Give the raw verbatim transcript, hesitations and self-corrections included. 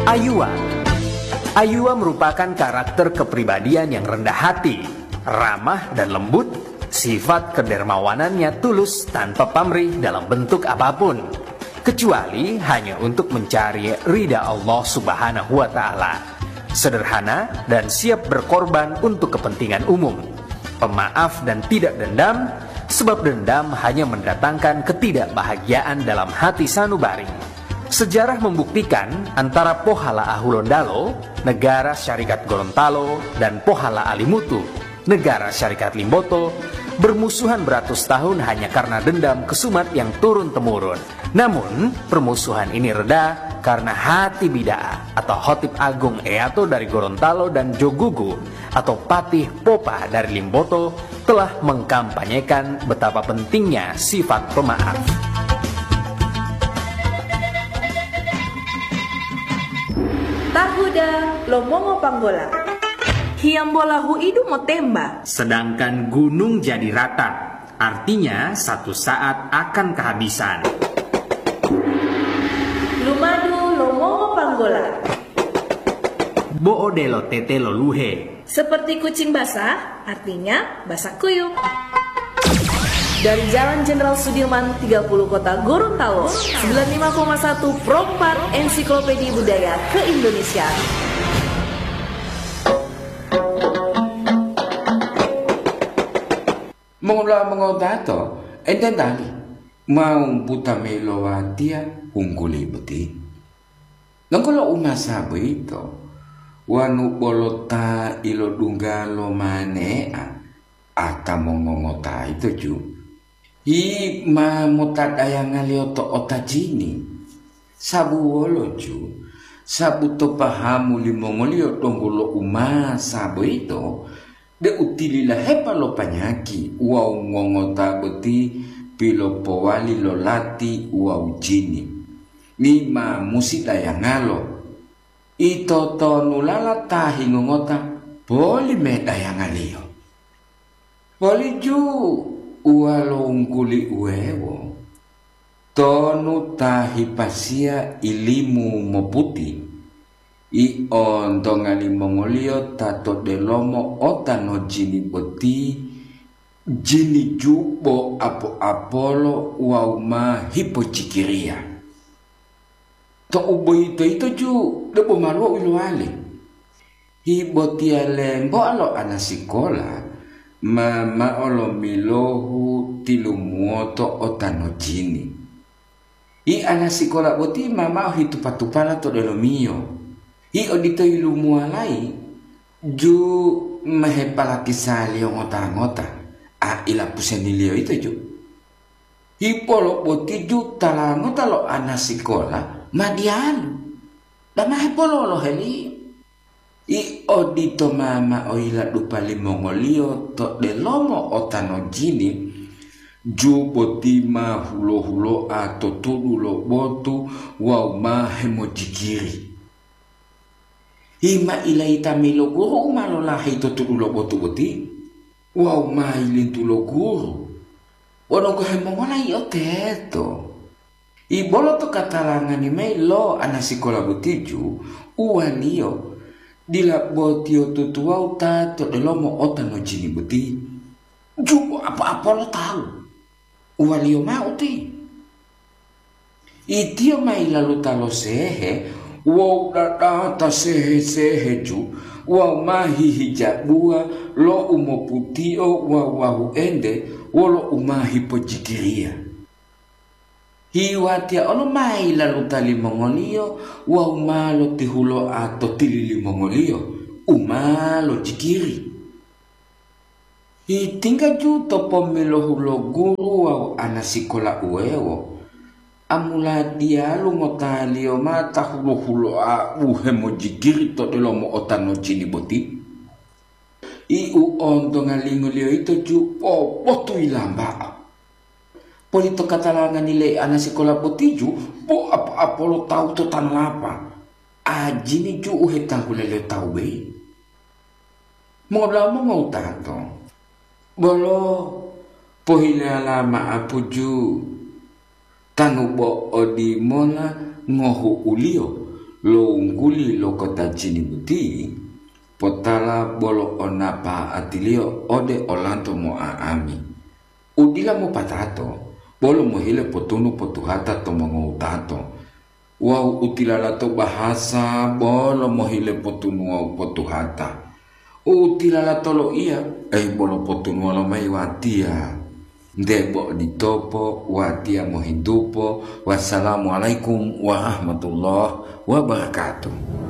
Ayuwa. Ayuwa merupakan karakter kepribadian yang rendah hati, ramah dan lembut, sifat kedermawanannya tulus tanpa pamrih dalam bentuk apapun, kecuali hanya untuk mencari ridha Allah Subhanahu wa Ta'ala. Sederhana dan siap berkorban untuk kepentingan umum. Pemaaf dan tidak dendam, sebab dendam hanya mendatangkan ketidakbahagiaan dalam hati sanubari. Sejarah membuktikan antara Pohala Ahulondalo, Negara Syarikat Gorontalo, dan Pohala Alimutu, Negara Syarikat Limboto, bermusuhan beratus tahun hanya karena dendam kesumat yang turun-temurun. Namun, permusuhan ini reda karena hati bida'ah atau Khotib Agung Eyato dari Gorontalo dan Jogugu atau Patih Popa dari Limboto telah mengkampanyekan betapa pentingnya sifat pemaaf. Tahuda lo mongo panggola. Hiyambola huidu motemba. Sedangkan gunung jadi rata, artinya satu saat akan kehabisan. Lumadu lo mongo panggola. Bo odelo tete lo luhe. Seperti kucing basah, artinya basah kuyup. Dari Jalan Jenderal Sudirman tiga puluh Kota Gorontalo, sembilan lima koma satu Pro empat Ensiklopedia Budaya Keindonesiaan. Mongula mongotato, enten tali mau buta meilowatia hungguli boti. Longgolo umasa boyito, wanu bolo ta ilodungga lo mane'a, ata mongongota ito ju. Hi ma motadayangaliyo to otajini. Sabu wolo ju, sabu to pahamu limongoliyo donggo lo umasa boyito, deu tililahepa lo panyaki wawu ngongota boti pilopowali lo lati wawu jini. Ni ma musi dayangalo. Ito tonulala ta hingongota poli medayangaliyo. Poliju uwalongkuli uwewo, tonu ta hipasiya ilimu moputi, i ontonga limongoliyo ta to delomo ota no jini boti, jini jubo apo-apolo wawu ma hipojikiriya. To'u boyito yito ju debo maluwo u ilowali. Hi botiya lemboa lo anasikola ma mao lomilohu tilumuwoto ota no jini. Hi anasikola boti ma mao hitupa-tupala to delomiyo. Hi odito yilumuwalayi ju ma hepalatisa liyo ngota-ngota, a ilapuseniliyo yito ju. Hipolobotiju tala ngota lo anasikola ma diyalu, dama hepololoheliyo. I odito ma mao yiladupa limongoliyo to delomo ota no jini, ju boti ma hulo-huloa to tudu lo botu wawu ma hemojikiri. Hima ilayita mayi lo guru u ma lolaheyi to tudu lo botu boti, wawu ma yilintu lo guru. Wonu ngohe mongola yio teto? Ibolo to katalangani mayi lo anasikola botiju, uwaliyo, dila botiyotutu wawu ta to delomo ota no jini boti. Jubo apo-apolo tawu, uwaliyo mao uti. Itiyo ma yilaluta lo sehe wawu dadata sehe-seheju wawu ma hihijabuwa lo u moputio wawu wahuente wolo u ma hipojikiriya. Hiwatiya olo ma yilaluta limongoliyo wawu ma lotihuloa to tili limongoliyo u ma lojikiri. Hitingga ju to pomilohu lo guru wawu anasikola uwewo, amuladiyalu ngotaliyo ma ta hulo-huloa u hemojikiri to delomo ota no jini boti? I u ontongalingoliyo yito ju pobotu yilamba'a. Poli to katalangani le anasikola botiju bo apo-apolo tawu to tanolapa, ajini ju u hetanggulaliyo tawu boyi. Mongodula'a mongowutato, bolo pohilala ma'apuju tanu bo odimola ngohu'uliyo lo wungguli lo kota Jini boti, potala bolo onapa'atiliyo ode olanto mo'a'ami. U dila mopatato, bolo mohile potunu potuhata to mongowutato, wawu u tilalato bahasa bolo mohile potunu wawu potuhata. U tilalato loiya, ei bolo potunuwa lomayi watiya. Nte bo oditopo, watiya mohintupo. Wassalamualaikum warahmatullahi wabarakatuh.